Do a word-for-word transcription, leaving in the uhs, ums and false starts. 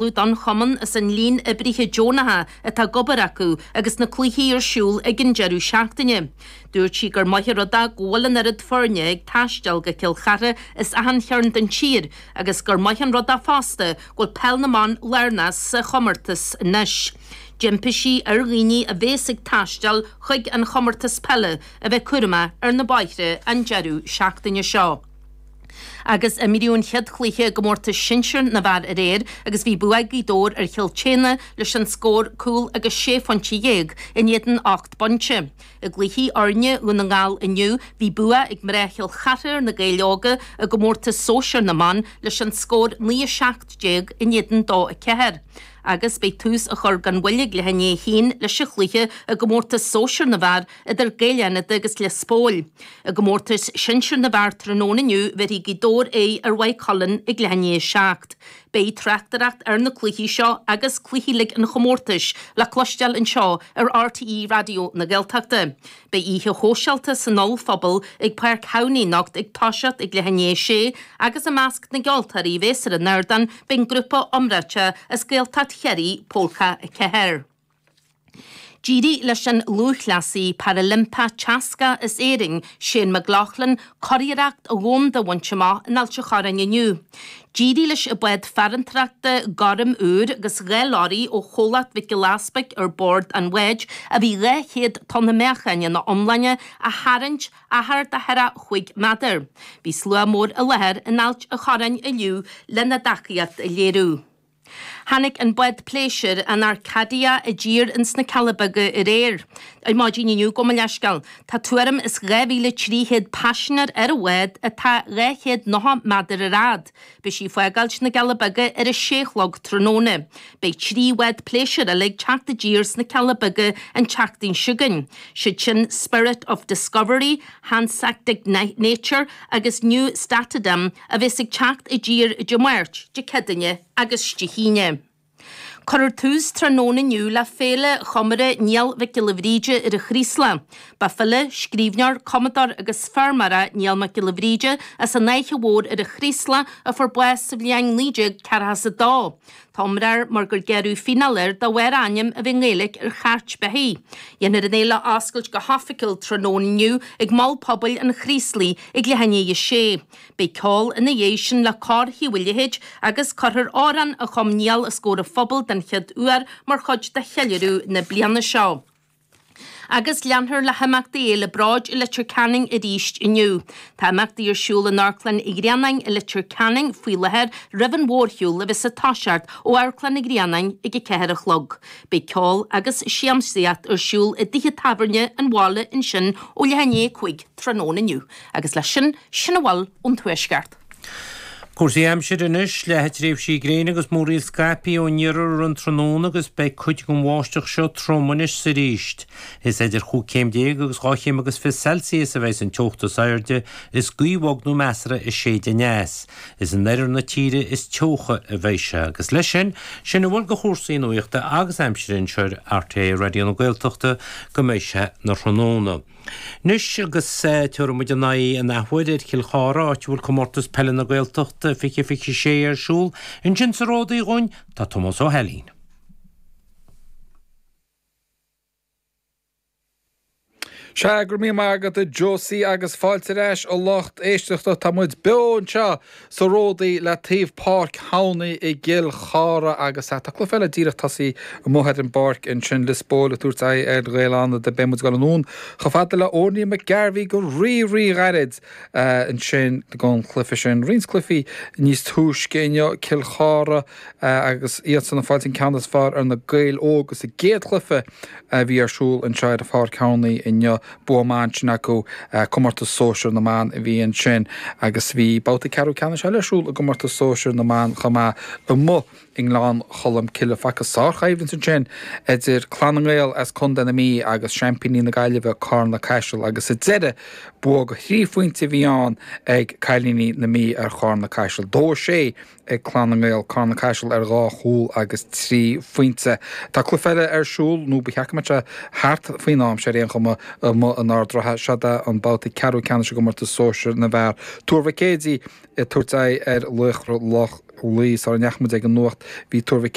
Don chumann as an líon oibrithe deonacha atá ag obair acu agus na cluichí ar siúl ag an deireadh seachtaine. Dúirt sí gur maith an rud é go bhfuil an oiread foirne ag taisteal go Cill Chartha as achan chearn den tír agus gur maith an rud é fosta go bhfuil peil na mban lárnach sa chomórtas anois. D'impigh sí ar dhaoine a bhéas ag taisteal chuig an chomórtas peile a bheith cúramach ar na bóithre an deireadh seachtaine seo. Agus imríodh an chéad chluiche i gcomórtas sinsir na bhfear aréir agus bhí bua ag Gaoth Dobhair ar Chill tSéadhna leis an scór cúl agus sé phointe dhéag in éadan ocht bpointe. I gcluichí fhoirne Dhún na nGall inniu bhí bua ag mná Chill Chartha ar na Gaeil Óga i gcomórtas sóisir na mban leis an scór naoi a seacht déag in éadan dó a ceathair. Agus beidh tús á chur gan mhoill ag leath i ndiaidh a haon leis an chluiche i gcomórtas sóisir na bhfear idir Gaeil Fhánada agus Lios Póil. I gcomórtas sinsir na bhfear tráthnóna inniu bhéarfaidh Gaoth Dobhair aghaidh ar Mhaigh Cuilinn ag leath i ndiaidh a seacht. Beidh tráchtaireacht ar na cluichí seo agus cluichí uilig an chomórtais le cloisteáil anseo ar RTÉ Raidió na Gaeltachta. Beidh oíche shóisialta san ollphuball ag Páirc Thamhnaigh anocht ag toiseacht ag leath i ndiaidh a sé agus i measc na gceoltóirí a bhéas ar an ardán beidh an grúpa iomráiteach as Gaeltacht Chiarraí, Pólca a ceathair. D'éirigh leis an lúthchleasaí Parailimpeach teascach as Éirinn, Shane McLoughlin, curiarracht dhomhanda a bhaint amach in Ailt an Chorráin inniu. D'éirigh leis an bád farantóireachta gorm úr agus dhá leoraí ó chomhlacht Mhic Giolla Easpaig ar bord an bháid, a bhí dhá chéad tonna meáchain ina iomláine, a tharraingt achar de cheathracha cúig méadar. Bhí slua mór i láthair in Ailt an Chorráin inniu lena dtacaíocht a léiriú. Tháinig an bád pléisiúir, an Arcadia, i dtír ins na Cealla Beaga aréir, ar maidin inniu, gabh mo leithscéal. Tá tuairim is dhá mhíle trí chéad paisinéir ar an bhád atá dhá chéad nócha méadar ar fhad. Beidh sí ag fágáilt na gCealla Beaga ar a sé a chlog tráthnóna. Beidh trí bhád pléisiúir eile ag teacht i dtír sna Cealla Beaga an tseachtain seo chugainn, siad sin Spirit of Discovery, Hanseatic Nature agus Nieuw Statendam a bheas ag teacht i dtír Dé Máirt, Dé Céadaoine agus Dé hAoine. Cuirfear tús tráthnóna inniu le Féile Chomóradh Niall Mhic Giolla Bhríde ar an Chraoslach. Ba file, scríbhneoir, cumadóir agus feirmeoir é Niall Mac Giolla Bhríde as an Fhaiche Mhór ar an Chraoslach a fuair bás sa bhliain naoi déag ceathracha is a dó. Tá iomrá air mar gur gearradh fíneáil air de bharr a ainm a bheith i nGaeilge ar chairt beithígh. Dhéanfar an fhéile a oscailt go hoifigiúil tráthnóna inniu ag Mol Pobail an Chraoslaigh ag leath i ndiaidh a sé. Beidh ceol ina dhiaidh sin le Cór Thaobh an Leithéid agus cuirfear amhrán a chum Niall os comhair an phobail den chéad uair mar chuid de cheiliúradh na bliana seo. Agus leanfar le himeachtaí Fhéile Bróid i Leitir Ceanainn arís inniu. Tá imeachtaí ar siúl in Amharclann Uí Ghrianáin i Leitir Ceanainn faoi láthair roimh an mhórshiúl a bheas ag toiseacht ó Amharclann Uí Ghrianáin ag a ceathair a chlog. Beidh ceol agus siamsaíocht ar siúl i dtithe tábhairne an bhaile ansin ó leath i ndiaidh a cúig tráthnóna inniu. Agus leis sin, sin a bhfuil ón Tuaisceart. Cúrsaí aimsire anois, leathfaidh tréimhsí gréine agus múraíl scaipthe ón iarthar an tráthnóna agus beidh cuid den bháisteach seo trom anois is arís. Is idir chúig chéim déag agus dhá chéim agus fiche Celsius a bheidh an teocht is airde, is gaoth bhog nó measartha ag séideadh aneas. Is in oirthear na tíre is teocha a bheidh sé. Agus leis sin, sin a bhfuil de chúrsaí nuachta agus aimsire anseo ar RTÉ Raidió na Gaeltachta go mbeidh sé 'na thráthnóna. Anois agus tabharfaidh muid ár n-aghaidh an athuair ar Chill Chartha, áit a bhfuil Comórtas Peile na Gaeltachta fiche fiche sé ar siúl. Ansin sa Ródaí dhúinn tá Tomás Ó hAilín. Sea, go raibh míle maith agat a Josie agus fáilte ar ais a lucht éisteachta. Tá muid beo anseo sa Ródaí le taobh Páirc Thamhnaigh i gCill Chartha agus tá cluiche eile díreach tosaithe amuigh ar an bpáirc ansin, Lios Póil ag tabhairt aghaidh ar Ghaeil Fhánada. Beidh muid ag dul anonn chomh fada le Órnaí McGarvey go rí-rí-ghairid ansin don chluiche sin. Roinnt cluichí níos túisce inniu, Cill Chartha agus iadsan ag fáilt an ceann is fearr ar na Gaeil Óga sa gcéad chluiche a bhí ar siúl anseo ar Pháirc Thamhnaigh inniu. Bua maith ansin acu, comórtas sóisir na mban a bhí ansin agus bhí babhta ceathrú ceannais eile ar siúl i gcomórtas sóisir na mban chomh maith amuigh i nGleann Cholm Cille. Facthas sárchoimhlint ansin idir Clann na nGael as Contae na Mí agus seaimpíní na Gaillimhe, Carna Caiseal agus sa deireadh bua de thrí phointe a bhí ann ag cailíní na Mí ar Charna Caiseal. Dó a sé ag Clann na nGael, Carna Caiseal ar dhá chúl agus trí phointe. Tá cluiche eile ar siúl, nó ba cheart go mbeadh sé thart faoin am seo ar aon chuma, amuigh in Ard an Rátha. Seod é an babhta ceathrú ceannais i gcomórtas sóisir na bhfear. Tuar Mhic Éadaigh ag tabhairt aghaidh ar Laochra Loch Laoi. Sara ndeachaigh muid ag an nuacht bhí Tuar Mhic